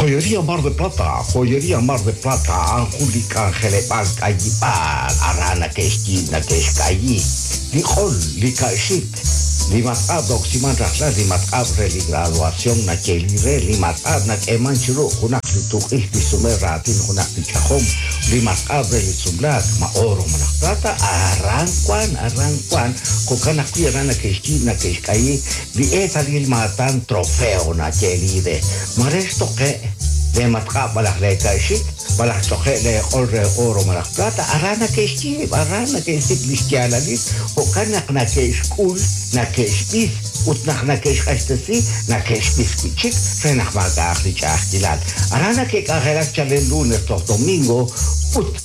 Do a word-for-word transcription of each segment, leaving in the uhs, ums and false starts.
Joyería Mar de Plata, Joyería Mar de Plata, Anjuli K'anjeleb'aal k'ayib'aal, aran nake'xyiib' nake'xk'ayi, li q'ol, li ka'xik, li matq'ab' roksiman rajlal, li matq'ab' re li graduación nayeeli re, li matq'ab' nak'eeman chiru junaq li tuq'ix li sume raatin junaq li ch'ajom, li matq'ab' re li sumlaak, ma oro malaj plata, aran wan, aran wan, jo'kan ajwi' aran nake'xyiib' nake'xk'ayi, li eetalil maatan trofeo nayeeli re, mare xtoqe' le matq'ab' malaj le ka'xik, malaj ch'oqe' le q'ol re oro malaj plata, aran nake'xyiib', aran nake'xsik' li xyaalalil, jo'kan naq nake'xk'ul, nake'xb'is, ut naq nake'xq'axtesi, nake'xb'is wi' chik, re naq maak'a'aq li ch'a'ajkilal. Aran nake'k'anjelak chalen lunes toj domingo, ut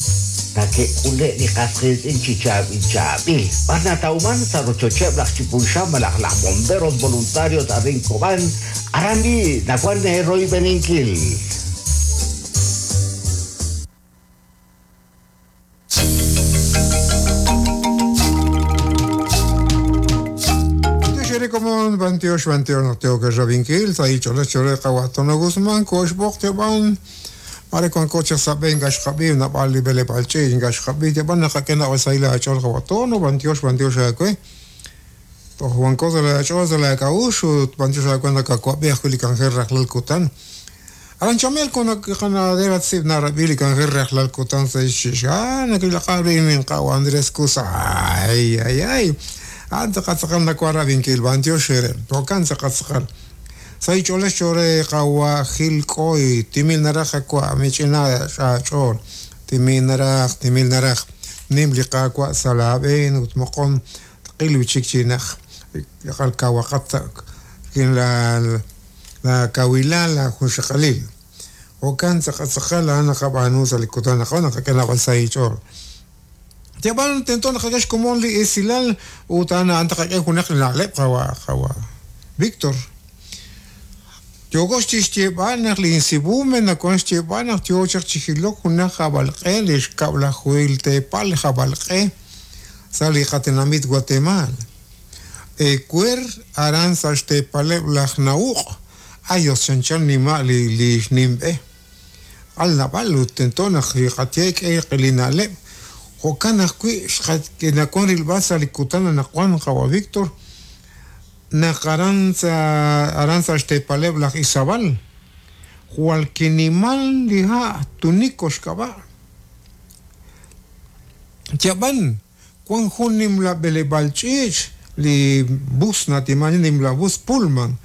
nake'k'ule' li qas qiitz'in chi chaab'il chaab'il. B'ar natawman sa' rochocheb' laj Chipulxan malaj laj bomberos voluntarios arin Cobán, aran bi nawan royb'eninkil. Komon bantiox bantiox no tengo que rabinkil sa icho le chore qawatono Guzmán koxboq teban mare con coche saben gaxqabi na bali bele balchi gaxqabi teban naqakena wasaila achol qawatono bantiox bantiox akwe to Juan cosa la achol la kaushu bantiox akwe na kakwabi akuli kanjer raqlal kutan aran chamel con qanadera tsib na rabili kanjer raqlal kutan sa shisha nakilaqabi min qaw Andrés Kusa ay ay ay anta qatsaqal nakwara binkil bantio shere tokan tsaqatsaqal say chole chore qawa gil koi timil naraja kwa michina chol timil naraj timil naraj nim liqa kwa salaben utmoqon tqil wichikchinaj qal kawaqat kin la la kawila la junxaqalil okan tsaqatsaqal ana qabanu salikutana qona qakana say chol Tiaban tento naqakax komon li esilal utana antaqak'e junaq na'leb' qawa qawa Víctor Yogox chixyeb'al naq li insibume nakon xyeb'al naq yochaq chijilok junaq jabalq'e li xkab'lajuil tepal jabalq'e sa li qatinamit Guatemala Ecuer aran sa xtepaleb' laj nauq ayos chanchan nima li li xnimb'e al nab'al ut tento naq li qatiek e qilina'leb' Jo'kan ajwi' xqak'enakon rilb'al sa li kutan anaqwan qawa Víctor naq aran sa aran sa xtepaleb' laj Izabal jwal kinimal li ha' tuniko xk'ab'a' Tiab'an wan jun nimla b'eleb'aal ch'iich li bus natiman nimla bus Pullman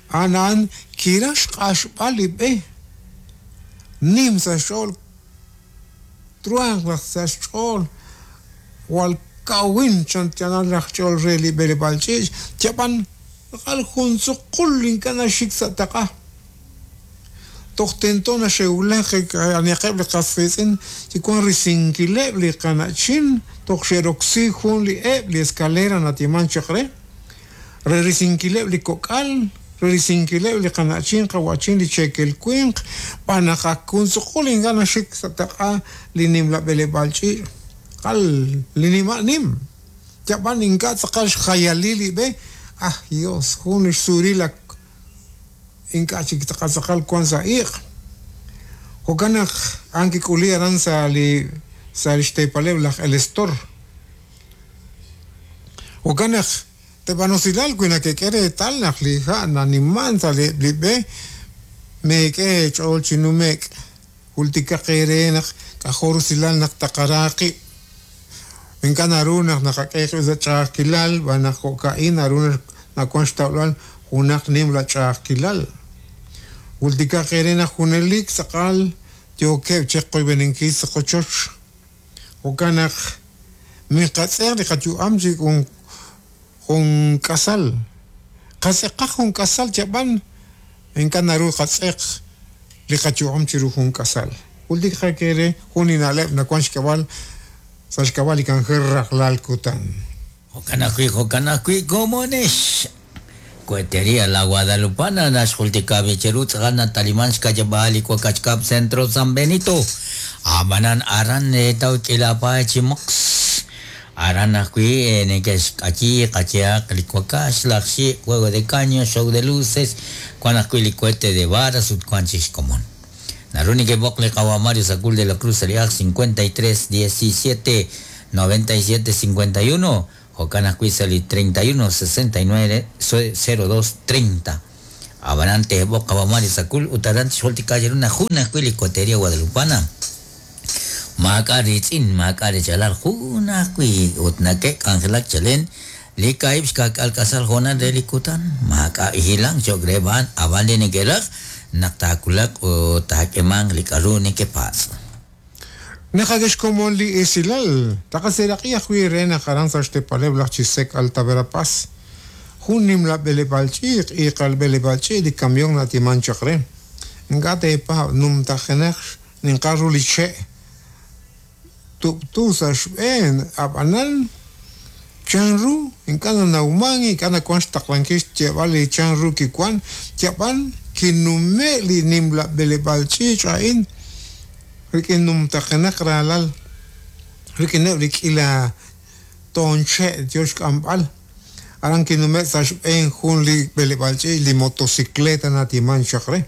anan kiraj xq'axb'al li b'e nim sa xch'ool truan laj sa xch'ool wal kawin chantianal laj ch'ool re li b'eleb'aal ch'iich tiab'an qal jun tzuqul ink'a' naxik sa' taq'a toj tento naxewlaj aniqeb' li qas qiitz'in chikuan risinkileb' li qana'chin toj xeroksi jun li eb' li escalera natiman chaq re re risinkileb' li kok'al re risinkileb' li qana'chin qawachin li chekel winq b'anaq jun tzuqul ink'a' naxik sa' taq'a li nimla b'eleb'aal ch'iich qal li nima' nim tiab'an ink'a' tz'aqal xjayalil li b'e ah Dios jun xsuril ink'a' chik tz'aqal tz'aqal wan sa' iq' jo'kan naq an kik'uli aran sa li sa li xtepaleb' laj El Estor jo'kan naq teb'anosilal wi nakek'e reetal naq li ha' naniman sa li li b'e meek'e ch'ool chi numek' jultikaq eere naq k'ajor usilal naq taqaraaqib' ink'a' naru naq naqak'e sa' ch'a'ajkilal b'an naq jo'ka'in naru nawan xtawb'al junaq nimla ch'a'ajkilal jultikaq eere naq junelik tz'aqal yookeb' cheqoyb'eninkil sa' qochoch jo'kan naq miqatz'eq li qayu'am chi jun jun k'asal qatz'eqaq jun k'asal chab'an ink'a' naru qatz'eq li qayu'am chiru jun k'asal jultikaq eere jun li na'leb' nawan xk'ab'al sa xk'ab'al li kanjer rajlal kutan Jo'kan ajwi' jo'kan ajwi' komonex Cohetería La Guadalupana naxjultika bicheru tz'aqal nataliman xkayab'al li Cuacachcap Centro San Benito amanan aran etaw k'ilapa chi mox Aran ajwi' neke'xk'ayi qayehaq li wakax, laj xi', juego de caño, show de luces, wan ajwi' li cohete de varas ut wan chik xkomon. Naru nekeb'oq li qawa' Mario Sacul de la Cruz sa' li aj cincuenta y tres diecisiete noventa y siete cincuenta y uno, jo'kan ajwi' sa' li treinta y uno sesenta y nueve cero dos treinta. Ab'anan teeb'oq qawa' Mario Sacul ut aran tixjultika cheru naq jun ajwi' li Cohetería Guadalupana. Maak'a' riitz'in, maak'a' richalal, jun ajwi' ut nake'k'anjelak chalen li kaahib' xka'k'aal k'asal hoonal re li kutan. Maak'a' hilank cho'q re b'an, ab'an li neke'raj naq taawulaq ut taak'emanq li k'aru nekepatz'. Naqak'e xkomon li esilal, taqaseraq'i ajwi' re naq aran sa' xtepaleb' laj Chisec Alta Verapaz. Jun nimla b'eleb'aal ch'iich', iiqal b'eleb'aal ch'iich' li camión natiman chaq re. Ink'a' teepaab' numtajenaq ninqal ru li che'. Tub'tu sa' xb'een, ab'anan chanru ink'a' nanawman, ink'a' nawank xtaqlankil xyeeb'al li chanru kiwan, yab'an kinume' li nimla b'eleb'aal ch'iich' a'in rik'in numtajenaq raalal, rik'ineb' li k'ila toon che' yo xk'amb'al. Aran kinume' sa' xb'een jun li b'eleb'aal ch'iich' li motocicleta natiman chaq re.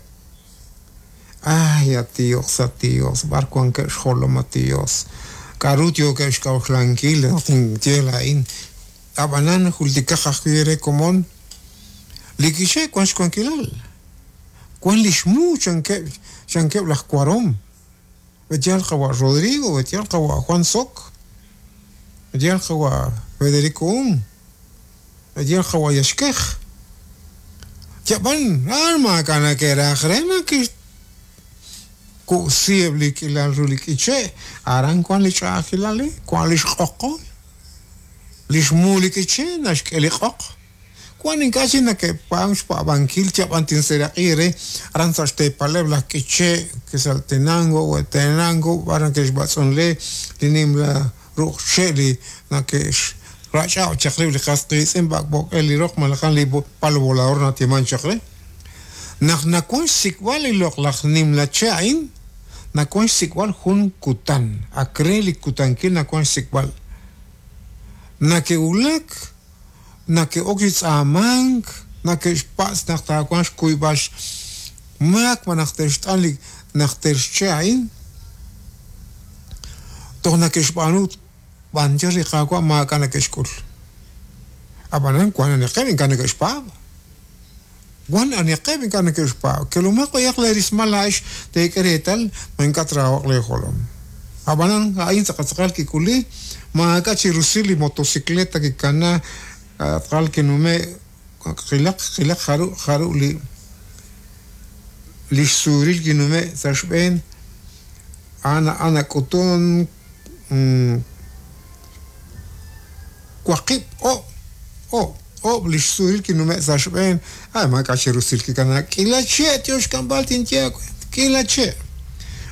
Ay, a Dios, a Dios, b'ar wankeb' xjolom a Dios. K'aru yookeb' xk'a'uxlankil naq tinye laa'in. Ab'anan jultikaq ajwi' re komon li k'iche' wan xwankilal. Wan li xmu chankeb', chankeb' laj Cuarón. B'etyal qawa' Rodrigo, b'etyal qawa' Juan Sok, b'etyal qawa' Federico Un, b'etyal qawa' Yaxkej. Yab'an, ah, maak'a' nake'raj re naq ku'sieb' li k'ilal ru li k'iche', aran wan li ch'a'ajkilal, wan li xq'oqol, li xmu li k'iche' naxk'e li q'oq. Wan ink'a' chik nake'paam xpa'b'ankil yab'an tinseraq'i re aran sa' xteepaleb' laj k'iche' Quetzaltenango, Huehuetenango, b'ar nake'xb'atz'unle li nimla ruq' che' li nake'xrach'ab' chaq rib' li qas qiitz'in b'ak'b'ok'el li roq malaj li palo volador natiman chaq re. Naq nawan xsik'b'al li loq laj nimla che' a'in, nawan xsik'b'al jun kutan, ak re li kutankil nawan xsik'b'al. Nake'wulak, nake'ok chi tz'aamank, nake'xpatz' naq taawanq xkuyb'al xmaak ma naq te'xt'an li naq te'xche' a'in. Toj nake'xb'aanu b'anchar li qaawa' maak'a' nake'xk'ul. Ab'anan wan aniqeb' ink'a' neke'xpaab'. Wan aniqeb' ink'a' neke'xpaab'. Kelumaq b'ayaq leerismal laa'ex teek'e reetal ma ink'a' traawaq leejolom. Ab'anan a'in tz'aqal kik'uli maak'a' chi rusil li motocicleta kikana tz'aqal kinume' qilaq qilaq jaru jaru li li xsuril kinume' sa' xb'een ana ana k'utun waqib' o' o' o' li xsuril kinume' sa' xb'een. Ay, maak'a' chi rusil kikana k'ila che' tio xk'amb'al tinye k'ila che'.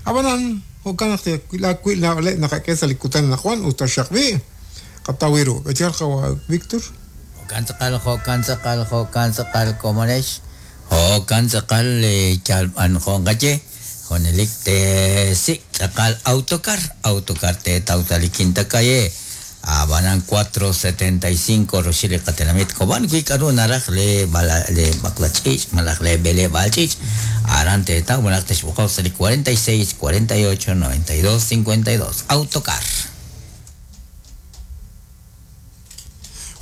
Ab'anan jo'kan naq wi' na'leb' naqak'e sa' li kutan anaqwan ut taxaq b'i' qataw ru. B'etyal qawa' Víctor. Jo'kan tz'aqal, jo'kan tz'aqal, jo'kan tz'aqal komonex. Jo'kan tz'aqal yalb'an jo'nqaye. Junelik teesik' tz'aqal autocar, autocar teetaw sa' li Quinta Calle. Abanan cuatro setenta y cinco roxil li qatenamit Cobán wi k'aru naraj le bala le b'aqlach'iich' malaj le b'eleb'aal ch'iich'. Aran teetaw malaj texb'oqoq sa' li cuarenta y seis, cuarenta y ocho, noventa y dos, cincuenta y dos. Autocar.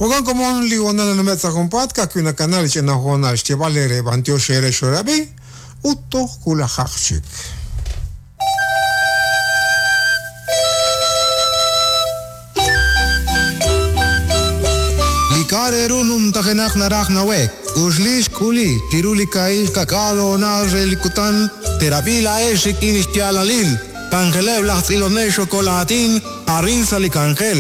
Jo'kan komon li honal nanume' sa' junpaat ka'ajwi' nakanal li ch'ina honal xyeeb'al ere b'antiox ere xorab'i ut toj wulajaq chik. Li numtajenaq naraj nawek, uxlix k'uli, chiru li ka'il kak'al honal re li kutan, terab'i la'ex rik'in xyaalalil, kanjeleb' laj tz'ilonel xokolatin, arin sa' li kanjel.